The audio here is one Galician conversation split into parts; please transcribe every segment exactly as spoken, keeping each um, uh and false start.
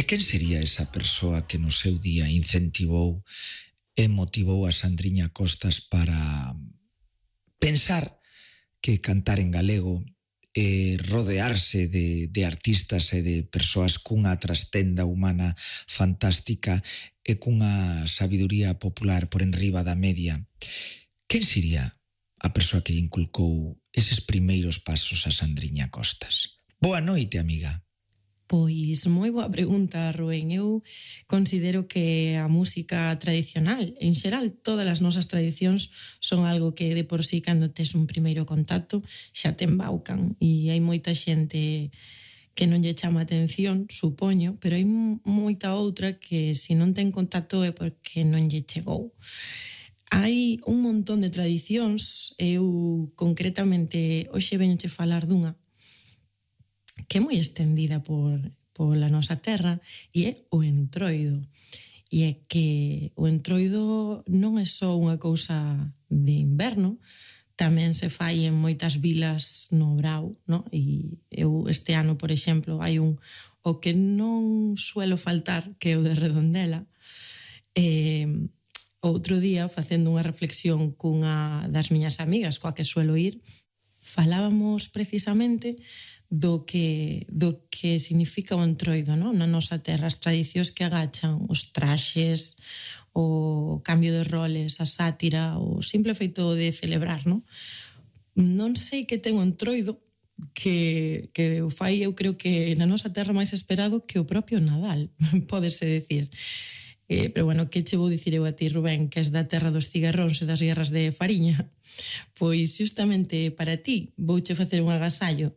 E quen sería esa persoa que no seu día incentivou e motivou a Sandriña Costas para pensar que cantar en galego e rodearse de, de artistas e de persoas cunha trastenda humana fantástica e cunha sabiduría popular por enriba da media? Quen sería a persoa que inculcou eses primeiros pasos a Sandriña Costas? Boa noite, amiga. Pois moi boa pregunta, Rubén. Eu considero que a música tradicional, en xeral todas as nosas tradicións, son algo que de por sí cando tes un primeiro contacto xa te embaucan, e hai moita xente que non lle chama atención, supoño, pero hai moita outra que se non ten contacto é porque non lle chegou. Hai un montón de tradicións, eu concretamente hoxe veñoche falar dunha que é moi estendida por, pola nosa terra, e é o entroido. E é que o entroido non é só unha cousa de inverno, tamén se fai en moitas vilas no Brao, no? E eu este ano, por exemplo, hai un o que non suelo faltar, que é o de Redondela. E outro día, facendo unha reflexión cunha das miñas amigas coa que suelo ir, falábamos precisamente do que, do que significa o entroido, no? Na nosa terra, as tradicións que agachan, os traxes, o cambio de roles, a sátira, o simple feito de celebrar, no? Non sei que ten o entroido que, que o fai, eu creo que na nosa terra máis esperado que o propio Nadal, pódese decir. Eh, pero bueno, que che vou dicir eu a ti, Rubén, que és da terra dos cigarróns e das guerras de fariña? Pois justamente para ti vouche facer un agasallo.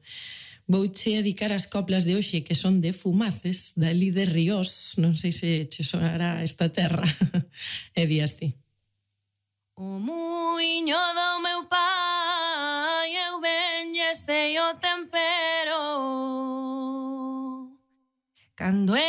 Vouche dedicar as coplas de hoxe, que son de Fumaces, dali de Ríos, non sei se che sonará esta terra. E di así. O muiño do meu pai, eu ben lle sei o tempero, cando é